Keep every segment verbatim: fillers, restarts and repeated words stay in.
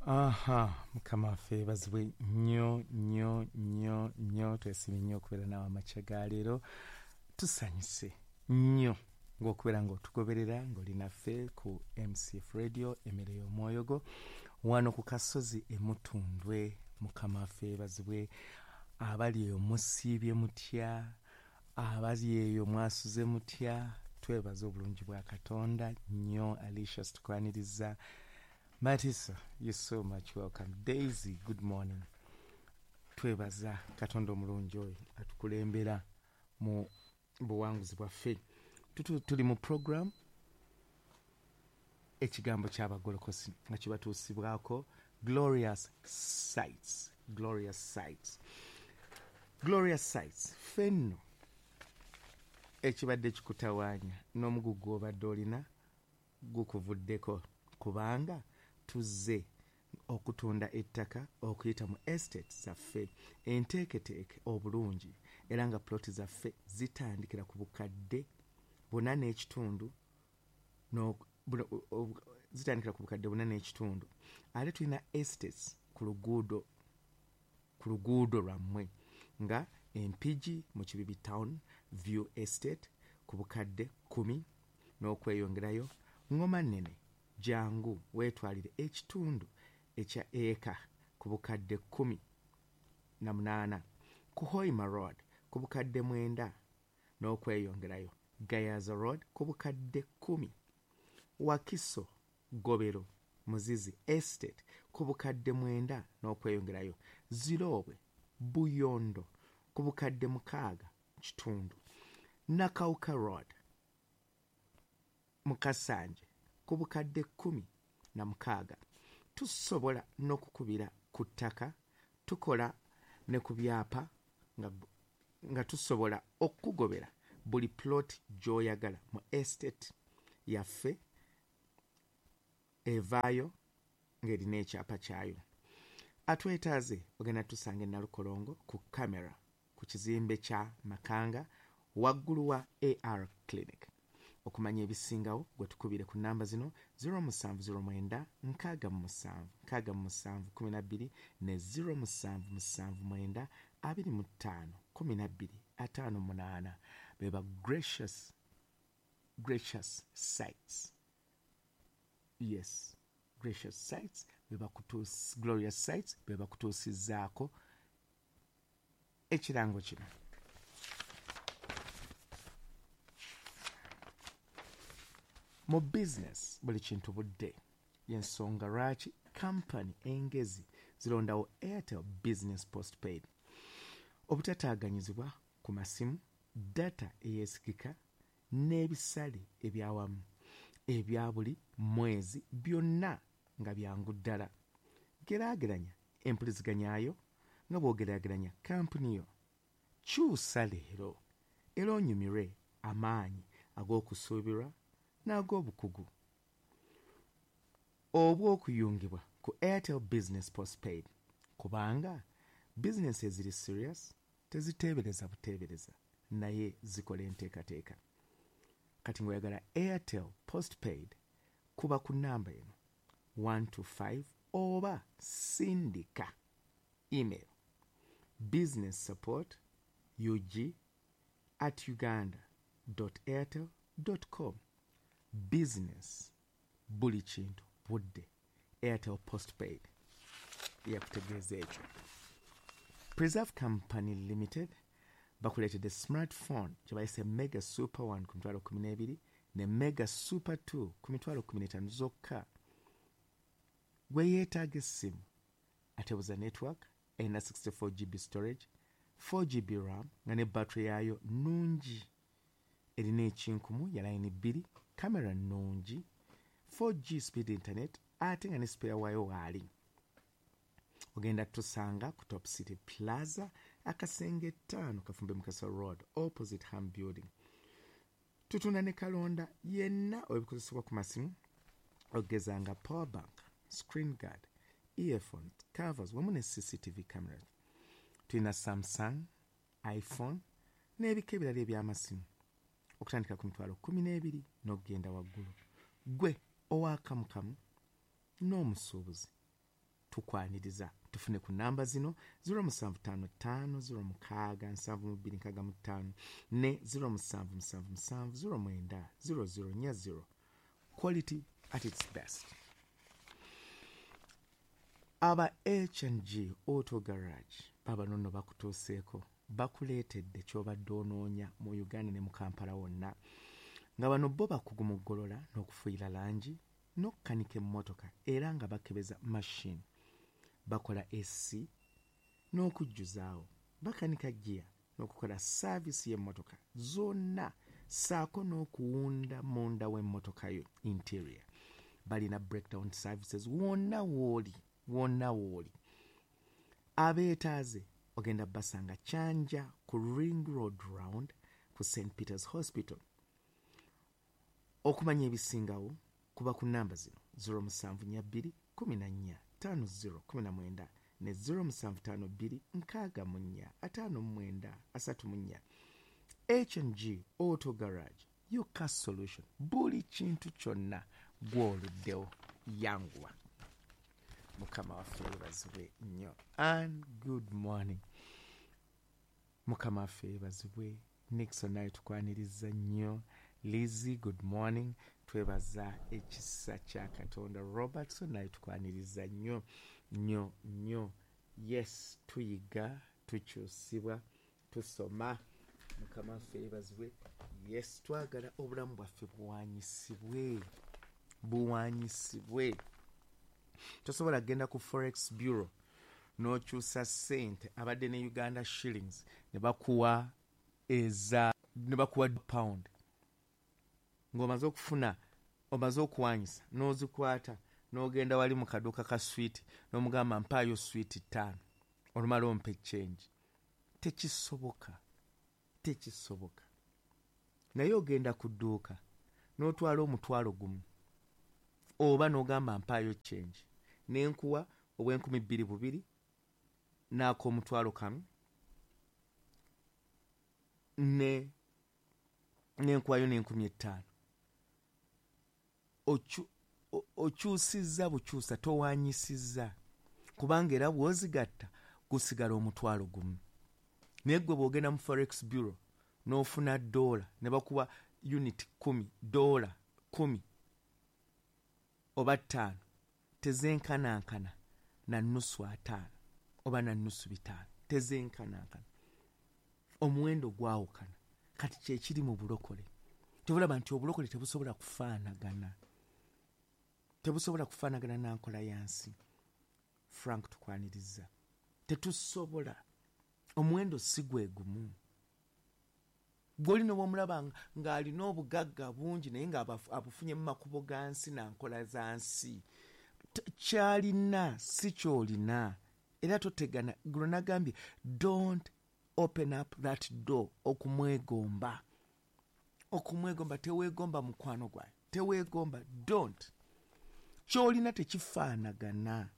Aha, Mukama waffe yeebazibwe nnyo nnyo nnyo nnyo. Twesiimye nnyo okubeera naawe amakya ga leero. Tusanyuse nnyo ng'okubeera ng'otugoberera ng'oli naffe ku M C F Radio, emmere y'omwoyo gwo, wano ku kasozi e Mutundwe. Mukama waffe yeebazibwe. Abali eyo musiibye mutya? Abali eyo mwasuze mutya? Twebaza obulungi bwa Katonda nnyo. Alicia, tukwaniriza. Matisa, you're so much welcome. Daisy, good morning. Twebaza Katonda omulungi oyo atukulembera mu buwanguzi bwaffe. Tuli mu program Ekigambo ky'Abagolokosi nga kibatuusibwako Glorious Sights. Glorious Sights. Glorious Sights. Fenno ekibadde kikutawaanya n'omugugu gw'obadde olina gukuvuddeko, kubanga tuzze okutunda ettaka okuyita mu estate zaffe enteeketeeke obulungi, era nga ploti zaffe zitandikira ku bukadde buna n'ekitundu, zitandikira ku bukadde buna n'ekitundu. Ate tulina estates ku luguudo ku luguudo lwammwe nga Empigi mu Kibibi Town View Estate ku bukadde kkumi n'okweyongerayo. Ngoma Nnene, jangu weetwalire ekitundu ekya eka ku bukadde kkumi na munaana. Ku Hoima Road ku bukadde mwenda n'okweyongerayo. Gayaza Road ku bukadde kkumi. Wakiso Gobero Muzizi Estate ku bukadde mwenda n'okweyongerayo. Ziroobwe Buyondo ku bukadde mukaaga kitundu. Nakawuka Road Mukasanje ku bukadde kkumi na mukaaga. Tusobola n'okukubira ku ttaka, tukola ne ku byapa nga, nga tusobola okukugobera buli plot gy'oyagala mu estate yaffe evaayo ng'erina ekyapa kyayo. Atwetaaze ogenda tusanga e Nalukolongo ku kamera ku kizimbe kya Makanga waggulu wa A R Clinic. Okumanya ebisingawo gwe tukubire ku namba zino zero musanvu zero mwenda nkaaga mu musanvu nkaaga mu musanvu kumi na bbiri ne zero musanvu musanvu mwenda abiri mu ttaano kumi na bbiri ataano munaana. Beba Gracious, Gracious Sights. Yes, Gracious Sights beba kutuus, Glorious Sights beba kutuusizaako ekirango kino. Mu business buli kintu budde, y'ensonga lwaki kampani engezi zirondawo Airtel Business Postpaid. Obutataaganyizibwa ku masimu, data eyeesigika n'ebisale ebyawamu ebya buli mwezi byonna nga byangu ddala. Geraageranya empuliziganyayo nga bw'ogeraageranya kampuni yo. Kyusa leero era onyumirwe amaanyi ag'okusuubirwa n'ag'obukugu obw'okuyungibwa ku Airtel Business Postpaid, kubanga bizinesi eziri serious teziteebereza buteebereza naye zikola enteekateeka. Kati ng'oyagala Airtel Postpaid, kuba ku namba eno one two five oba sindika email business support ug at uganda dot airtel dot com. Business buli kintu budde. Airtel Postpaid yakutegeeza ekyo. Preserve Company Limited bakuleetedde smartphone gye bayise Mega Super one ku mitwalo kkumi n'ebiri ne Mega Super two ku mitwalo kkumi n'etaano zokka. Gwe yeetaaga essimu atebuza network, erina sixty-four G B storage, four G B RAM nga ne battery yaayo nnungi, erina ekinkumu ya layini bbiri, kamera nnungi, four G speed internet ate nga ne spare waayo waali. Ogenda tusanga ku Top City Plaza, akasenge ttaano Kafumbe Mukasa Road, opposite Ham Building. Tutunda ne kalonda yenna ebikozesebwa ku masimu okugeza nga power bank, screen guard, earphones, covers wamu ne C C T V cameras. Tulina Samsung, iPhone n'ebika ebirala eby'amasimu okutandika ku mitwalo kkumi n'ebiri n'okugenda waggulu. Gwe owakamukamu n'omusuubuzi Tukwaniriza. Tufune ku namba zino zero musanvu tano tano zero mukaaga nsanvu mu bbiri nkaaga mu ttaano ne zero musanvu musanvu musanvu zero mwenda zero zero nnya zero. Quality at its best. Aba H and G Auto Garage baba nonno bakutuuseeko, bakuleetedde ky'obadde onoonya mu Uganda ne mu Kampala wonna, nga bano bo bakugu mu ggolola n'okufuuyira langi n'okukanika emmotoka, era nga bakebeza machine, bakola A C n'okujjuzaawo, bakanika gear n'okukola service y'emmotoka zonna, ssaako n'okuwunda munda w'emmotoka yo interior. Balina breakdown services wonna w'oli, wonna w'oli. Abeetaaze ogenda basanga Kyanja ku Ring Road Round ku Saint Peter's Hospital. Okumanya ebisingawo kuba ku namba zino zero musanvu nnya bbiri kumi na nnya ttaano zero kumi na mwenda ne zero musanvu ttaano bbiri nkaaga mu nnya ataano mu mwenda asatu mu nnya. H and G Auto Garage, your car solution. Buli kintu kyonna gw'oluddewo, yanguwa. Mukama waffe yeebazibwe nnyo. And good morning. Mukama waffe yeebazibwe. Nixon naye tukwaniriza nnyo. Lizzie, good morning. Twebaza ekisa kya Katonda. Robertson naye tukwaniriza nnyo nnyo nnyo. Yes, tuyiga, tukyusibwa, tusoma. Mukama waffe yeebazibwe. Yes, twagala obulamu bwaffe buwanyisibwe, buwanyisibwe. Tosobola kugenda ku Forex Bureau n'okyusa ssente abadde ne Uganda shillings ne bakuwa eza ne bakuwa pound, ng'omaze okufuna, omaze okuwanyisa n'ozikwata n'ogenda wali mu kaduuka ka swiiti n'omugamba mpaayo swiiti ttaano olumala ompe change. Tekisoboka, tekisoboka. Naye ogenda ku dduuka n'otwala omutwalo gumu oba n'ogamba mpaayo change, nenkuwa obw'enkumi bbiri bubiri n'ak'omutwalo kamu ne nenkuwayo n'enkumi ettaano. Okyusizza bukyusa, towanyisizza, kubanga era bw'ozigatta gusigala omutwalo gumu. Naye ggwe bw'ogenda mu Forex Bureau n'ofuna ddoola ne bakuwa unit kumi, ddoola kumi oba ttaano, tezenkanankana na nnusu ataano oba na nnusu bitaano, tezenkanankana. Omuwendo gwawukana. Kati kyekiri mu bulokole. Tebulaba nti obulokole tebusobola kufaanagana, tebusobola kufaanagana na nkola ya nsi. Frank tukwaniriza. Tetusobola. Omuwendo si gwe gumu. Gw'olina bw'omulaba ng'alina obugagga bungi naye ng'abufunye mu makubo ga nsi na nkola za nsi, ky'alina si ky'olina. Era totegana. Guno nagambye, don't open up that door okumwegomba. Okumwegomba, teweegomba mukwano gwayo, teweegomba. Don't. Ky'olina tekifaanagana.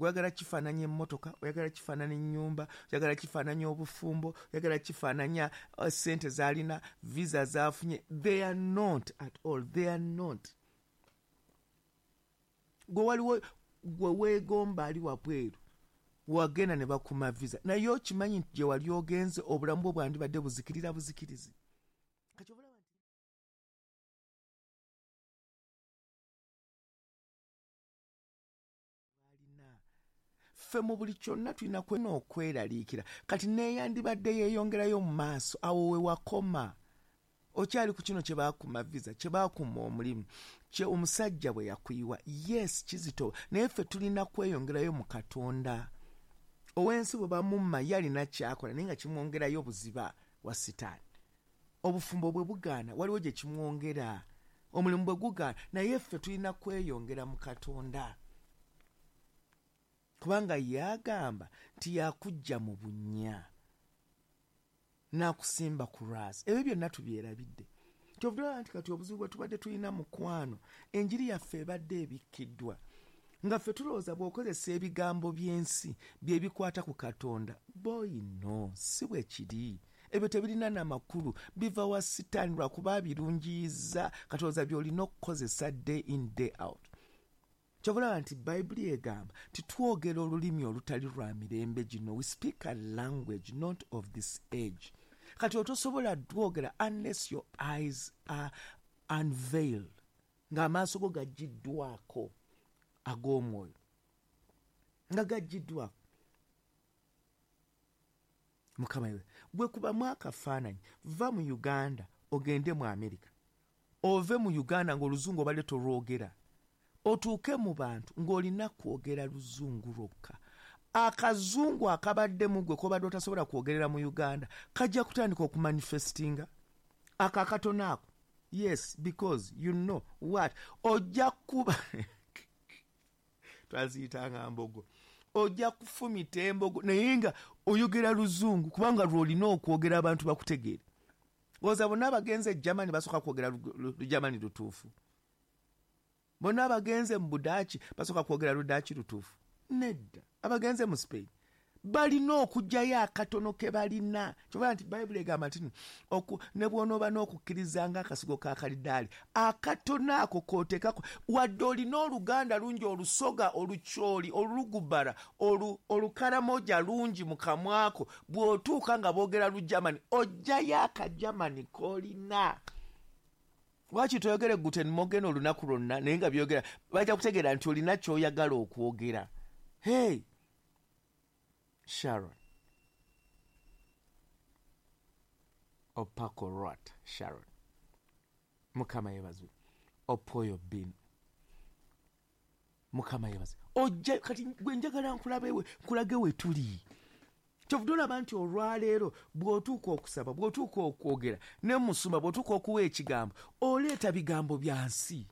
Oyagala kifaananya emmotoka, oyagala kifaananya ennyumba, oyagala kifaananya obufumbo, oyagala kifaananya ssente z'alina, visa z'afunye. They are not at all. They are not. Gwe waliwo gwe weegomba ali wabweru, wagenda ne bakuma visa, naye okimanyi nti gye wali ogenze obulamu bwo bwandibadde buzikirira buzikirizi. Kati obulaba ffe mu buli kyonna tulina kwena okweraliikira. Kati neeyandibadde yeeyongerayo mu maaso, awo we wakoma. Okyali ku kino kye baakuma visa, kye baakuma omulimu, kye omusajja bwe yakuyiwa. Yes, kizito, naye ffe tulina kweyongerayo mu Katonda. Ow'ensi bwe bamumma ye alina ky'akola naye nga kimwongerayo buziba wa Sitaani. Obufumbo bwe bugaana waliwo gye kimwongera, omulimu bwe gugaana, naye ffe tulina kweyongera mu Katonda. Kubanga yagamba nti yakujja mu bunnya n'akusimba ku lwazi. Ebyo byonna tubyerabidde. Kyovulaba nti kati obuzibu bwe tubadde tulina mukwano, enjiri yaffe ebadde ebikkiddwa. Nga ffe tulowooza bw'okozesa ebigambo by'ensi bye bikwata ku Katonda. Boy, no, si bwe kiri. Ebyo tebirina n'amakulu, biva wa Sitaani lwakuba abirungiyiza. Katonda by'olina okukozesa day in day out. Kyova nti Bayibuli egamba titwogera olulimi olutali lwa mirembe gino. We speak a language not of this age. Kati otosobola dwogera unless your eyes are unveiled, ng'amaaso go gaggiddwako ag'omwoyo, nga gaggiddwako. Mukama yewe gwe kubamu akafaananyi, va mu Uganda ogende mu Amerika, ove mu Uganda ng'oluzungu obadde tolwogera, otuuke mu bantu ng'olina kwogera luzungu lwokka. Akazungu akabadde mu ggwe k'obadde otasobola kwogerera mu Uganda kajja kutandika okumanifestinga ako akatono ako. Yes, because you know what, ojja kuba twaziyitanga mbogo, ojja kufumita embogo naye nga oyogera luzungu kubanga lw'olina okwogera abantu bakutegeere. Oza bonna abagenze e Germany basooka kwogera Lugermany lutuufu, bonna abagenze mu Budaaki basooka kwogera Ludaaki lutuufu. Nedda, abagenze mu Spain balina okuggyayo akatono ke balina. Kyova nti Bayibuli egamba nti ne bw'onooba n'okukkiriza ng'akasigo ka kalidaali, akatono ako k'oteekako, wadde olina oluganda lungi, olusoga, olukyoli, olugubara, olukaramoja lungi mu kamwako, bw'otuuka nga boogera Lugermany oggyayo akagermany k'olina. Lwaki toyogere Guten Morgen olunaku lwonna naye nga byogera bajja kutegeera nti olina ky'oyagala okwogera. Hey Sharon Opako Rot, Sharon Mukama yeebazibwe. Opoyo Bin Mukama yeebazibwe. Ojja kati gwe njagala nkulabe nkulage we tuli. Kyovudde olaba nti olwaleero bw'otuuka okusaba, bw'otuuka okwogera ne musumba, bw'otuuka okuwa ekigambo, oleeta bigambo bya nsi.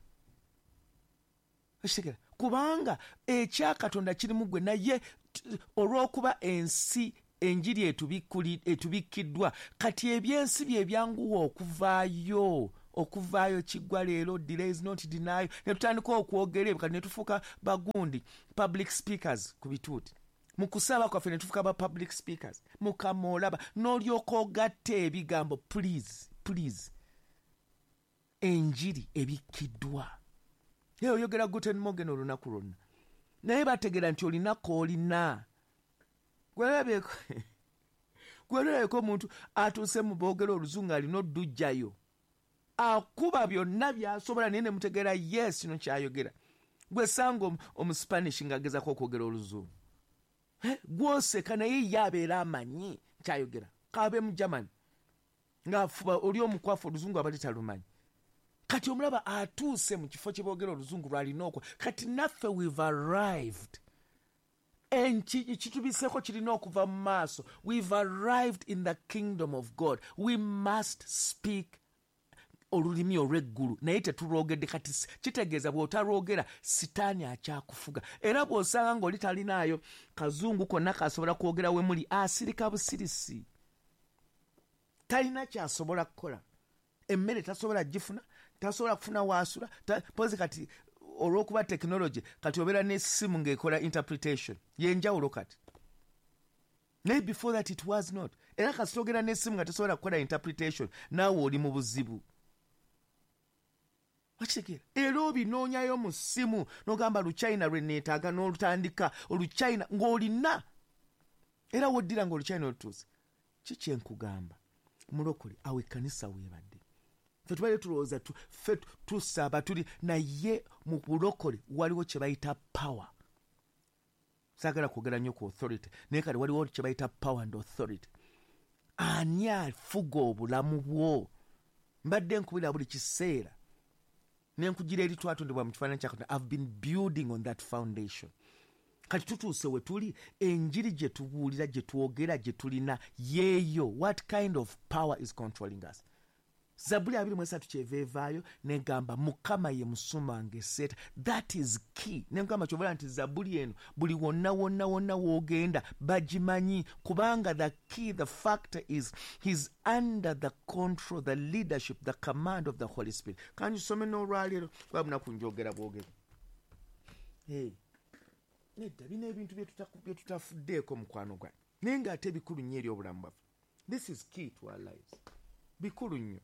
Okitegera? Kubanga ekya Katonda kiri mu ggwe, naye olw'okuba ensi enjiri etubikkiddwa, kati ebyensi bye byanguwa okuvaayo, okuvaayo kiggwa leero, delay is not denial. Ne tutandika okwogera ebyo, kati ne tufuuka bagundi public speakers ku bituuti. Mu kusaba kwaffe ne tufuuka ba public speakers. Mukama olaba n'olyoka ogatta ebigambo. Please, please, enjiri ebikkiddwa. Naye oyogera Guten Morgen olunaku lwonna, naye bategeera nti olina k'olina. Gwerabyeko gwerabyeko omuntu atuuse mu boogera oluzungu alina oddujjayo, akuba byonna by'asobola naye ne mutegeera yes kino ky'ayogera. Gwe sanga omuspanish ng'agezako okwogera oluzungu, gwoseka naye ye abeera amanyi ky'ayogera. K'abe mu Germany ng'afuba oli omukwafu oluzungu abadde talumanyi. Kati omulaba atuuse mu kifo kye boogera oluzungu lw'alina okwo. Kati naffe we've arrived. Ekitubiseeko kirina okuva mu maaso. We've arrived in the kingdom of God. We must speak olulimi olw'eggulu, naye tetulwogedde. Kati kitegeeza bw'otalwogera sitaani akyakufuga. Era bw'osanga ng'oli talinaayo kazungu konna kasobola kwogera we muli, asirika busirisi, talina ky'asobola kukola. Emmere tasobola gifuna, tasobola kufuna waasula. Mpozi kati olw'okuba technology, kati obeera n'essimu ng'ekola interpretation y'enjawulo kati. Naye before that it was not. Era kasita ogenda n'essimu nga tesobola kukola interpretation, naawe oli mu buzibu. Wakitegeera? Era obinoonyayo mu ssimu n'ogamba Luchina lwe neetaaga n'olutandika Oluchina ng'olina, era woddira ng'Oluchina olutuuse. Ki kye nkugamba mulokole, awo ekkanisa weebadde. Ffe tubadde tulowooza ffe tusaba tuli, naye mu bulokole waliwo kye bayita power. Saagala kwogera nnyo ku authority, naye kati waliwo kye bayita power and authority. Ani afuga obulamu bwo? Mbadde nkubira buli kiseera ne nkugira eri twatondebwa mu kifaananyi kya Katonda. I've been building on that foundation. Kati tutuuse we tuli, enjiri gye tubuulira, gye twogera, gye tulina yeeyo. What kind of power is controlling us? Zabbuli abiri mu esatu kyeva evaayo negamba Mukama ye musumba wange seeta. That is key. Negamba kyovola nti zabbuli eno buli wonna wonna wonna w'ogenda bagimanyi, kubanga the key, the factor is he's under the control, the leadership, the command of the Holy Spirit. Kangisome n'olwaleero kuba bunaku njogera bwogera. Hey. Nedda bino ebintu bye tutafuddeeko mukwano gwange, naye ng'ate bikulu nnyo eri obulamu bwaffe. This is key to our lives. Bikulu nnyo.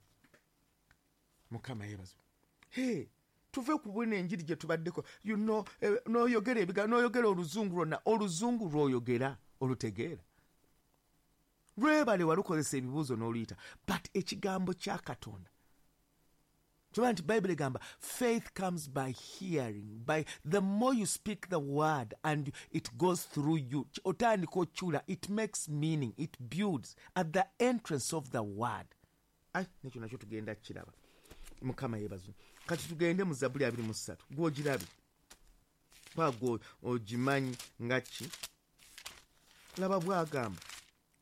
Mukama yeebazibwe. Hey, Tuve ku bwino enjiri gye tubaddeko. You know, eh, n'oyogera ebigambo, n'oyogera oluzungu lwonna, oluzungu lw'oyogera olutegeera. Lwebale walukozesa ebibuuzo n'oluyita. But ekigambo kya Katonda. Kyova nti Bible egamba, faith comes by hearing. By the more you speak the word and it goes through you, otandika okyula, it makes meaning, it builds at the entrance of the word. Ai, nekyo nakyo tugenda kiraba. Mukama yeebazibwe. Kati tugende mu Zabbuli abiri mu ssatu. Gw'ogirabe. Kwa gwe ogimanyi nga ki? Laba bw'agamba.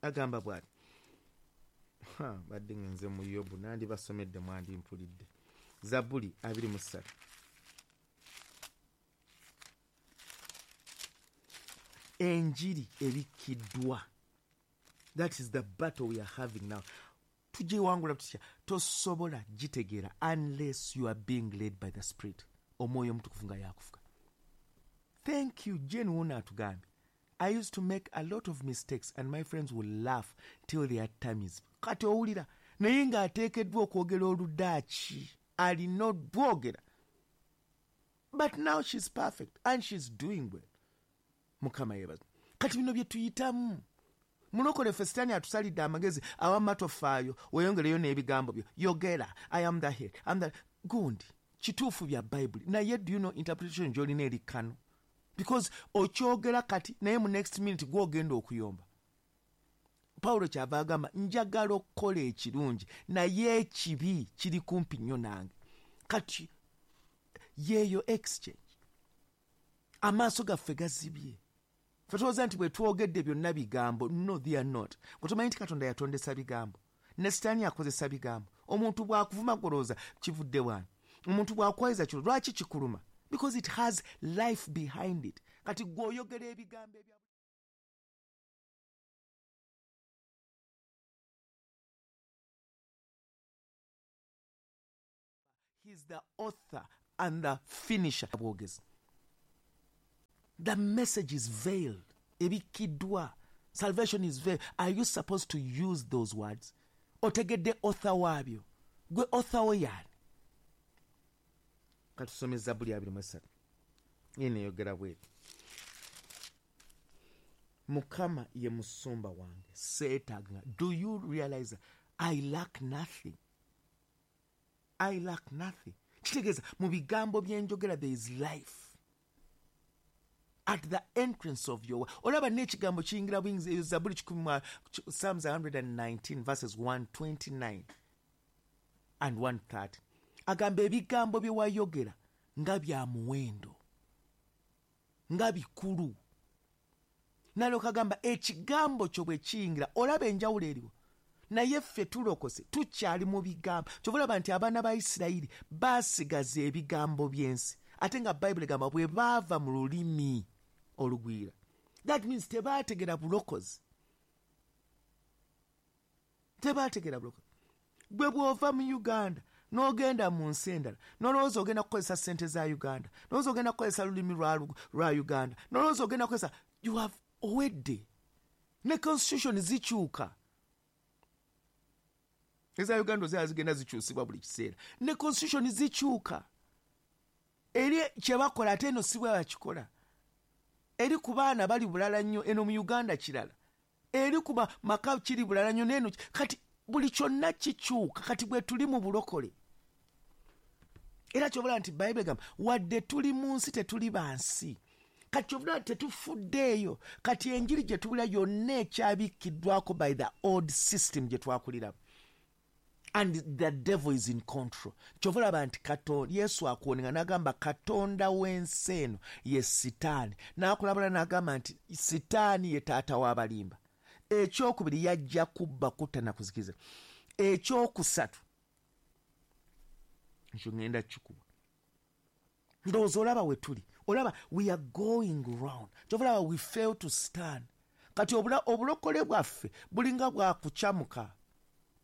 Agamba bw'ati. Ha, badde ngenze mu Yobu, nandibasomedde mwandimpulidde. Zabbuli abiri mu ssatu. Enjiri ebikkiddwa. That is the battle we are having now. Tugiwangula tutya? Tosobola gitegeera unless you are being led by the Spirit. Omwoyo Omutukuvu nga yakufuga. Thank you, Jane Wona atugambye. I used to make a lot of mistakes and my friends would laugh till their tummies. Kati owulira naye ng'ateekeddwa okwogera Oludaaki, alina odwogera. But now she's perfect and she's doing well. Mukama yeebazibwe. Kati bino bye tuyitamu. Mulokole ffe Sitaani atusalidde amagezi, awamma tofaayo, weeyongereyo n'ebigambo byo. Yogera, I am the head, I'm the... Gundi, kituufu bya Bayibuli. Naye do you know interpretation gy'olina eri kano? Because okyogera kati, naye mu next minute gw'ogenda okuyomba. Pawulo kyava agamba, njagala okukola ekirungi, naye ekibi kiri kumpi nnyo nange. Kati yeeyo exchange. Amaaso gaffe gazibye. Ffe tulowooza nti bwe twogedde byonna bigambo. No, they are not. Gwe tomanyi nti Katonda yatondesa bigambo. Ne Sitaani akozesa bigambo. Omuntu bw'akuvuma gw'olowooza kivudde wano. Omuntu bw'akwayiza kiro lwaki kikuluma? Because it has life behind it. Kati gw'oyogera ebigambo ebya He's the author and the finisher. Bwogezi. The message is veiled. Ebikkiddwa. Salvation is veiled. Are you supposed to use those words? Otegedde author waabyo. Gwe author wo y'ani? Katusome Zabbuli abiri mu essatu. Eno eyogera bw'eti. Mukama ye musumba wange, seetaaga. Do you realize I lack nothing? I lack nothing. Kitegeeza mu bigambo bye njogera there is life. At the entrance of your word. Olaba n'ekigambo kiyingira buyingiza eyo Zabbuli kikumi mu Psalms one nineteen verses one twenty-nine and one thirty. Agamba ebigambo bye wayogera nga bya muwendo, nga bikulu. Nalyoka agamba ekigambo kyo bwe kiyingira, olaba enjawulo eriwo. Naye ffe tulokose tukyali mu bigambo. Kyova olaba nti abaana ba Isirayiri baasigaza ebigambo by'ensi. Ate nga Bayibuli egamba bwe baava mu lulimi olugwira. That means tebaategera bulokozi. Tebaategera bulokozi. Gwe bw'ova mu Uganda n'ogenda mu nsi endala, n'olowooza ogenda kukozesa ssente za Uganda, n'olowooza ogenda kukozesa lulimi lwa, lwa Uganda, n'olowooza ogenda kukozesa, you have owedde. Ne constitution zikyuka. Eza Uganda ozira zigenda zikyusibwa buli kiseera. Ne constitution zikyuka. Eri kye bakola ate eno si bwe bakikola. Eri ku baana bali bulala nnyo, eno mu Uganda kirala. Eri ku maka kiri bulala nnyo n'eno. Kati buli kyonna kikyuka. Kati bwe tuli mu bulokole. Era ky'obulaba nti Bayibuli egamba wadde tuli mu nsi tetuli ba nsi. Kati ky'obulaba tetufuddeeyo. Kati enjiri gye tubulira yonna ekyabikkiddwako by the old system gye twakuliramu. And the devil is in control. Kyova olaba nti Katonda, Yesu akuwoninga n'agamba Katonda w'ensi eno ye Sitaani. N'akulabula n'agamba nti Sitaani ye taata w'abalimba. Ekyokubiri yajja kubba, kutta na kuzikiza. Ekyokusatu ekyo ŋŋenda kikuba. Ndowooza olaba we tuli. Olaba we are going round. Kyova olaba we fail to stand. Kati obulokole bwaffe bulinga bwakukyamuka.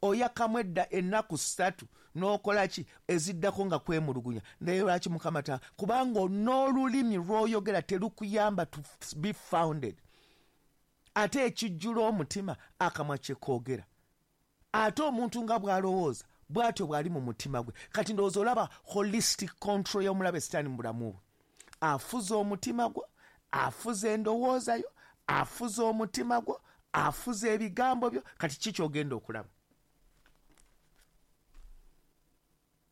Oyakamu edda ennaku ssatu n'okola ki eziddako nga kwemulugunya. Naye lwaki Mukama ta? Kubanga n'olulimi lw'oyogera terukuyamba to be founded. Ate ekijjula omutima akamwa kye koogera. Ate omuntu nga bw'alowooza Bw'atyo bw'ali mu mutima gwe. Kati ndowooza olaba holistic control y'omulabe Sitaani mu bulamu bwe. Afuza omutima gwo, afuza endowooza yo, afuza omutima gwo, afuza ebigambo byo. Kati ki ky'ogenda okulaba?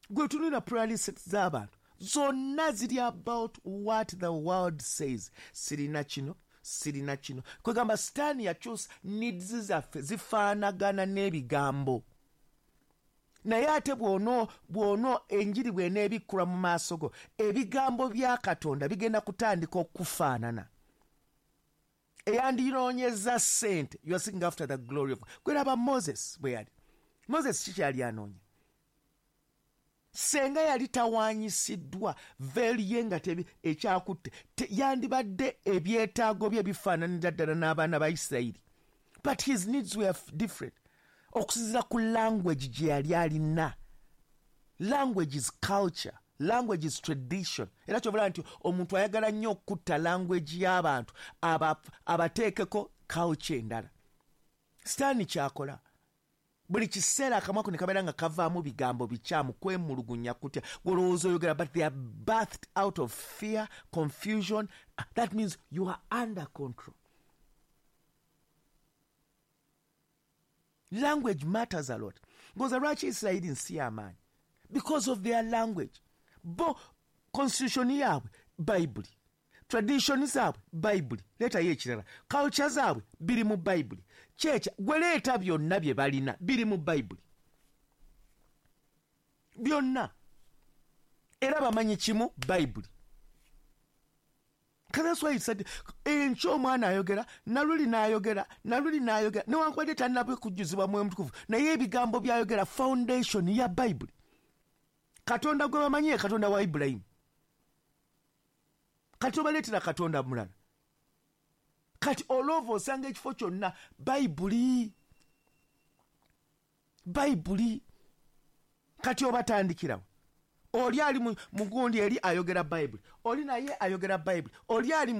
Gwe tunula prayer list z'abantu zonna ziri about what the world says. Sirina kino, sirina kino. Kwegamba Sitaani yakyusa needs zaffe zifaanagana n'ebigambo. Naye ate bw'ono bw'ono enjiri bw'eneebikkulwa mu maaso go, ebigambo bya Katonda bigenda kutandika okufaanana. Eyandinoonyeza ssente, you are seeking after the glory of God. Gweraba Moses bwe yali. Moses kikyali anoonya. Senga yali tawaanyisiddwa veeri ye nga ekyakutte, yandibadde ebyetaago bye bifaananira ddala n'abaana ba Isirayiri. But his needs were different. Okusinziira ku language gye yali alina. Language is culture. Language is tradition. Era ky'obalaba nti omuntu ayagala nnyo okutta language y'abantu abateekeko culture endala. Sitaani kyakola. Buli kiseera akamwa ko ne kabeera nga kavaamu bigambo bikyamu, kwemulugunya, kutya, gw'olowooza oyogera, but they are birthed out of fear, confusion. That means you are under control. Language matters a lot. Ngoza lwaki Isirayiri nsi y'amaanyi? Because of their language. Bo constitution yaabwe Bayibuli, tradition zaabwe Bayibuli, leetayo ekirala, culture zaabwe biri mu Bayibuli. Kyekya gwe leeta byonna bye balina biri mu Bayibuli byonna, era bamanyi kimu Bayibuli. That's why he said enkya omwana ayogera, naluli n'ayogera, naluli n'ayogera, newankubadde tannabwe kujjuzibwa Mwoyo Mutukuvu, naye ebigambo by'ayogera foundation ya Bayibuli. Katonda gwe bamanyi ye Katonda wa Ibulayimu. Kati obaleetera Katonda mulala. Kati olova osanga ekifo kyonna Bayibuli, Bayibuli. Kati obatandikirawo. Oli ali mugundi eri ayogera Bayibuli, oli naye ayogera Bayibuli, oli ali